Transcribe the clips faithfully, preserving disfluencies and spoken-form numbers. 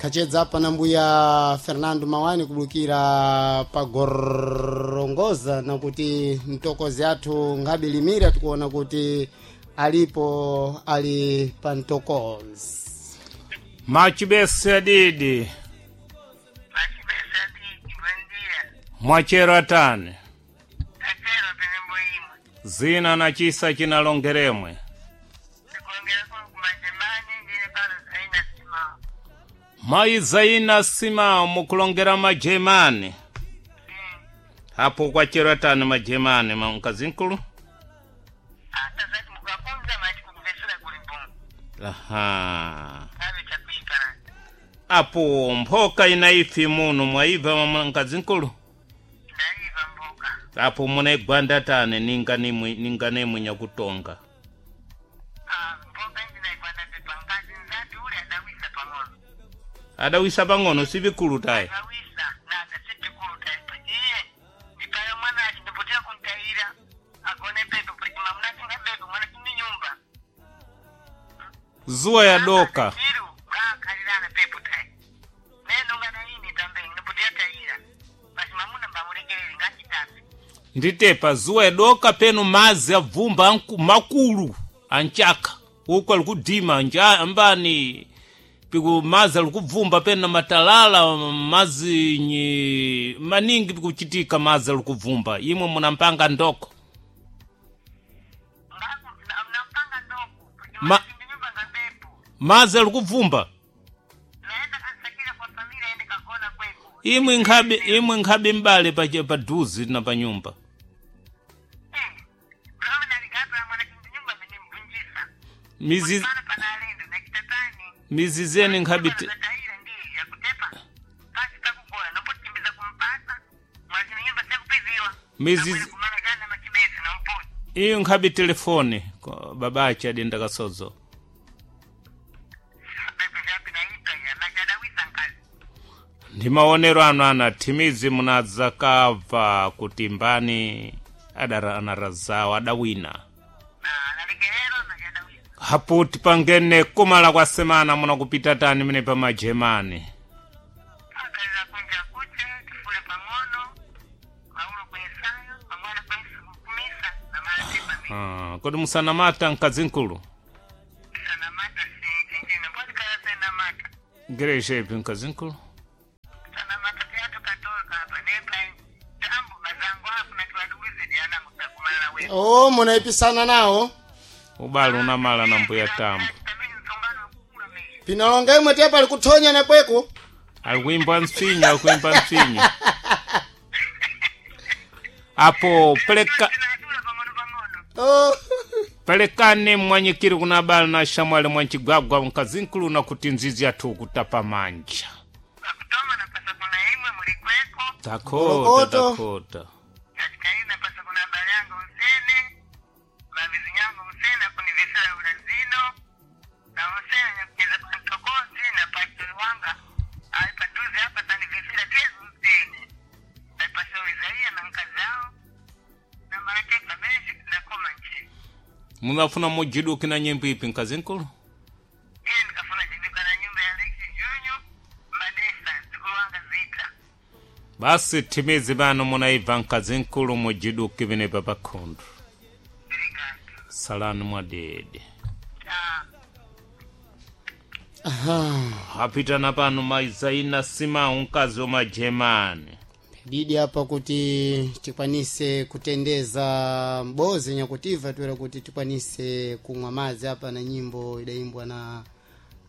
Khachedza apa na mbuya Fernando Mawani kubukira pa Gorongoza, na kuti mtokozi athu ngabilimira tikuona kuti alipo ali pa mtokozi. Machibese adidi. Machibese adidi, buen dia. Mwachero atani. Tachero penembo imwe. Zina na chisa chinalongeremwe. Ndikulongera kumajemani ndine pano Zaina Simao. Mayi Zaina Simao mukulongera majemani. Mm. Apo kwachero atani majemani ma mkazinkulu. Ata zati mukakunza machi kukuvesera kuli mpungu. Aha. Ave chakuipana. Apo mphoka inaifi muno mwaibva mwa mkazinkulu. Ndaiva mboka. Apo munaigwanda tane ninga nimwe ninga nemwe nyakutonga. Ah, mboka indi naigwanda pepa ngazi nzati ule adawisa pang'ono. Adawisa pang'ono sivikulu tayi. Adawisa na akasipikulu taipa. Iye ndipayo mwana achi ndipotera kuntaira. Agone pepo pachima munatinga pepo mwana tini nyumba. Zuwa yadoka. Iru ngakhalirana pepo tayi. Neno ngana ini tambeni ndipotera taira. Basi mamuna mbamulekerere ngachitapi. Nditepa zuwa yadoka penu mazi abvumba anku- makulu anchaka uko alikudima nja ambani piku mazi alikubvumba penu na matalala mazi nyi maningi pikuchitika mazi alikubvumba imwe munampanga ndoko. Ngaku nampanga ndoku. Ma- Ndi nyumba ngapepo. Mazi alikubvumba. Naenda kasakira kwa familia ende kagona kweko. Imwe nkhabe imwe nkhabe mbale pa paduzi na pa nyumba. Eh. Bravo naligapa mwana ndi nyumba ndimvunjisa. Mizi Pana panalendo nakitatani. mizizeni nkhabe te- Taira ndi yakutepa. Pasi pakugona nopotimbiza kumpasa. Mwazini nyumba sekupiziwa. Mizizi- Kumana gana machibesi na mponi. iyo nkhabe telefoni ko- babache adenda kasozo. Pepe vyapi naipa ya nachadawisa nkazi. Ndi maonero anu ana thimizi munadzakabva kuti mbani adara anarazawo adawina. Na nalekerero nachadawisa. Hapo tipangene kumala kwa semana munakupita tani mene pa majemani. Akaliza kunja kuche tifule pang'ono. Maulo kwensayo pang'ono kwensu kumisa na malatepa mi. Ah, kodi musanamata mkazinkulu? Sanamata si chinjino. Mbona kala sanamata. Ngereshepi mkazinkulu? Sanamata tiyatu katoka hapa nepa. Tambu mazangu hapo na tuwadulize diana mutakumala wewe. Oh, munaipisana nawo. Ubale unamala na mbuya tambo. Pinalonga imwe tepa alikuthonya na kweko. Alikuimba msinyo, alikuimba msinyo. Apo peleka Oh. pelekane mwanyikiri kuna bala na shamwali mwanchigwagwa mkazinkulu na kuti nzizi yathu kutapa manja. Pakutoma napasa kuna imwe mulikweko Takota Morokoto. takota. katika hii napasa kuna habari yangu usene mavizi yangu usene kunivisira ulazino na usene nyakucheza kwa mtokozi na pachiwanga aipaduzi hapa tanivisira pia usene aipasoizaia na nkazao na marateka menji na koma nchi Munafuna mujiduki na nyimbo ipi mkazinkulu? iye nikafuna jiduka na nyumba ya Lexi Junior Madesa zikuwanga zita. Basi timizi bano munaibva mkazinkulu mujiduki vinepa pakhundu. Obrigado. Salani mwadede. Tchau. Aha. Apitana pano maizaina simau mkazi wa majemani. Didi apa kuti tikwanise kutendeza mbozi nyakutiva tuera kuti tikwanise kumwa madzi apa na nyimbo idaimbwa na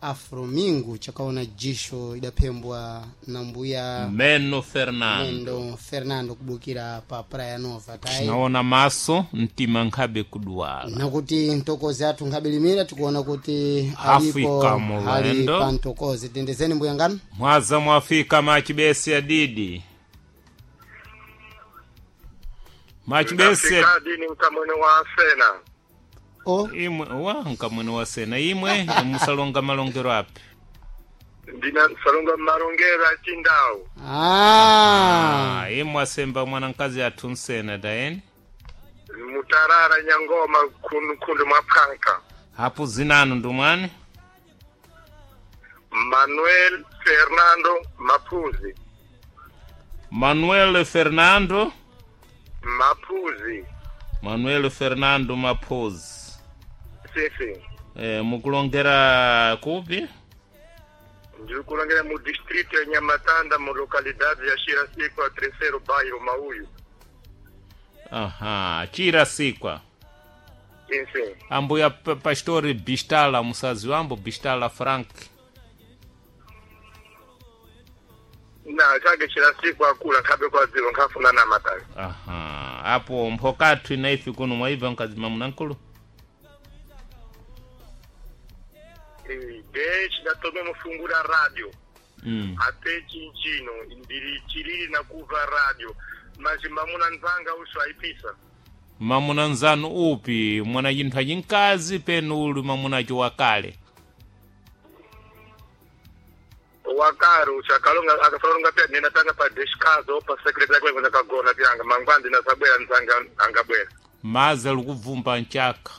Afro Mingu chakaona jisho idaphembwa na mbuya Meno Fernando. Mendo Fernando kubukira pa Praia Nova tayi Tinaona maso mtima nkhabe kuduwala. nakuti mtokozi athu nkabilimira tikuona kuti Afrika alipo ali mulendo. pa mtokozi tendezeni mbuya nganu. Mwaza mwafika machibesi adidi. Machibesi Ndafika dini mkamwene wa sena. Oh, imwe wa nkamwene wa sena imwe musalonga malongero api. Ndina salonga marongera chindau. ah. Ah, imwe asemba mwana mkazi athu nsena taeni. Mutarara nyangoma kundu, kundu mwapanka. Hapo zinanu ndumwani. Manuel Fernando Mapuzi. Manuel Fernando Mapuzi. Manuel Fernando Mapozi. Sim, sim. Eh, mukulongera kupi? Ndikulongera mu distrito ya Nhamatanda, mu localidade ya Xirasikwa, terceiro bairro, Mauyo. Aha, Chirasikwa. Sim, sim. Ambuya pa- pastori Bistala, musazi wambo Bistala Frank. Na, chake Xirasikwa akula, nkhabe kwa zilo, nkhafuna Nhamatanda. Aha, apo mphokathu inaifi kuno mwaiva mkazima munankulu. Eh, Desde ndatome mufungura rádio. Mm. Até chinchino, ndiri chilili na kuva rádio. Mas mamuna nzanga uso aipisa. Mamuna nzanu upi mwana chinthu achinkazi penu uli mamunacho wakale. Wakaro uchakalonga akasalonga pya nina tanga pa descaso pa secretary kwe kwenda kagona pyanga mangwandi na sabwera nzanga angabwera. Maza likubvumba mchaka.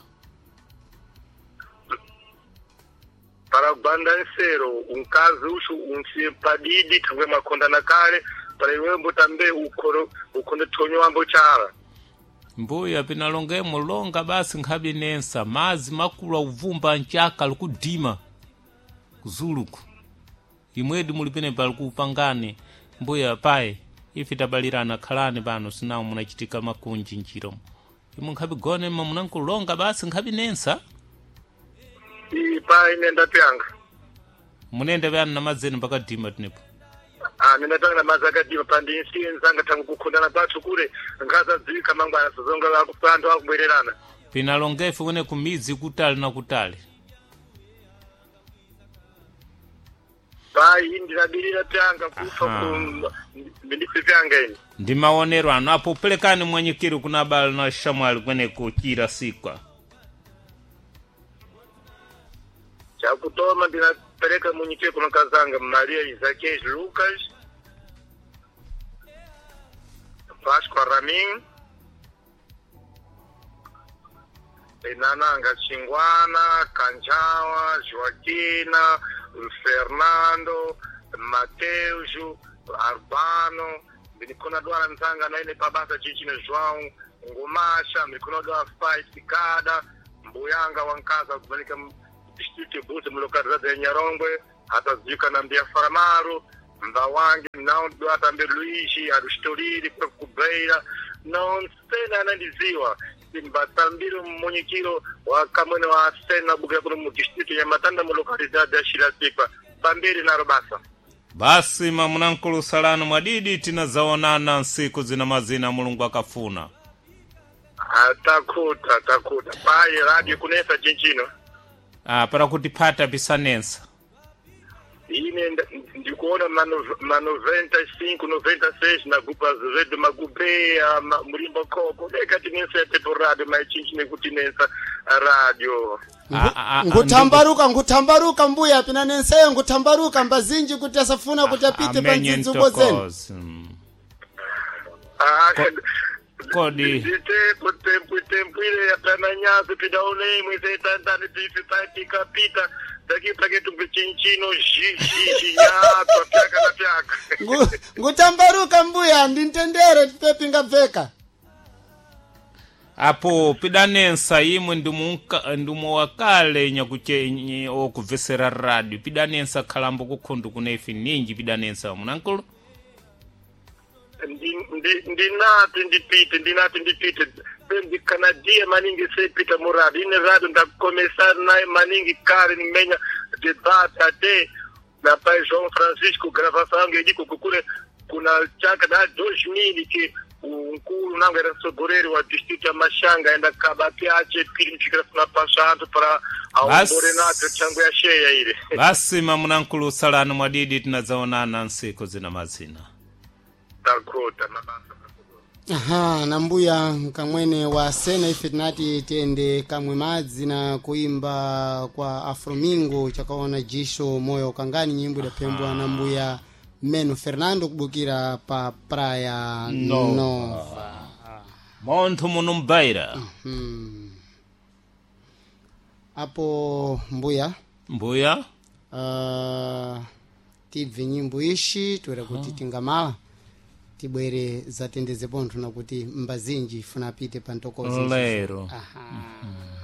Para banda nsero unkazi ushu unsi padidi tangwe makonda na kale para iwembo tambe ukoro ukonde tonyo wambo chala. Mbuya pinalongemo longa basi nkhabe nensa mazi makulu akuvumba mchaka likudima kuzuluku imwedi muli penepa likupangani mbuya paye ife tabalirana khalani pano sinawo munachitika makunji njiro imwe nkhabe gone munankulonga basi nkhabe nensa I pa inenda pyanga. munende pano na madzeni mpaka dima tinepo Ah nenda tanga na mazaka dima pandi insi nzanga tangu kukundana pathu kule ngaza dzika mangwana sazonga la kupandu akubwererana. pinalongefe kune kumidzi kutali na kutali Pai ndinabirira pyanga kufa Aha. ku ndife pyanga ini. ndi maonero anu apo pelekani mwanyikiro kuna abale na shamwali kweneko chira sikwa Chakutoma ndinapereka munyike kuno kazanga Maria Isaquias Lucas Vasco Ramin Enananga Chingwana Kanjawa Joaquina Fernando Mateus Arbano ndikona dwala nzanga naine pabasa chichino João Ngumasha ndikona dwala Fight Kada mbuyanga wankaza kumanika distrito Buzi mu localidade ya Nyarongwe ataziwika na Mbia Faramaro Mbawangi nao atambe Luigi Arustolili kwa kubeira non sena anandiziwa mbatambiro mmunyikiro wa kamwene wa sena bukira kuno mu distrito ya Matanda mu localidade ya Xirasikwa pambiri naro basa basi mamunankulu salanu mwadidi tinazaonana nsiku zina mazina mulungu akafuna atakuta atakuta paye radio kunesa chinchino ah, para kuti phata pisanensa ine nda- ndikuona ma nov- ma noventa e cinco noventa e seis na grupo Azevedo Magubea ma, Mulimbo Koko deka tinensa tepo radio maichinchi nekuti nensa radio Ah, ah, ah, Ngutambaruka ngutambaruka mbuya pina nenseyo ngutambaruka mbazinji kuti asafuna kuti apite pa amenye ndzidzubo zenu. ntokozi Mm. Ah, kodi nditepo tempo tempo ile yapana nyazi pidaonemwe setantani pifi paipika pita takipaketu pichinchino zhizhizhi nyatwa pyaka na pyaka Ngu- Ngutambaruka mbuya ndintendere tipepinga bveka. apo pidanensa imwe ndimunka- ndimu wakale nyakuche nye- okubvesera radio pidanensa khalambo kukhundu kuna ife ninji pidanensa munankulu Ndi- ndi- ndinati ndipite ndinati ndipite ndikanadia maningi sepita murado ine rado ndakomesana naye maningi kare nimenya debate ate na pai João Francisco gravação yangu ediko kukule kuna chaka da dois mil que unkulu nangu era sogoreri wa distrito ya Machanga enda kabati ache pili mchikira kuna pashantu para Bas. aombore nato changu ya sheya ile basi mamunankulu salanu mwadidi tinazaonana nsiku zina mazina takota mabasa Aha, na mbuya kamwene wa sena ife tinati tiyende kamwe madzi na kuimba kwa afromingo chakaona jisho moyo kangani nyimbo idapembwa na mbuya meno fernando kubukira pa praia Nova. nova. monthu muno mbaira Hmm. Apo mbuya mbuya uh, Tibve nyimbo ishi toera kuti tingamala tibwere zatendeze pontho nakuti mbazinji funa apite pa ntokozi. Lero. Aha.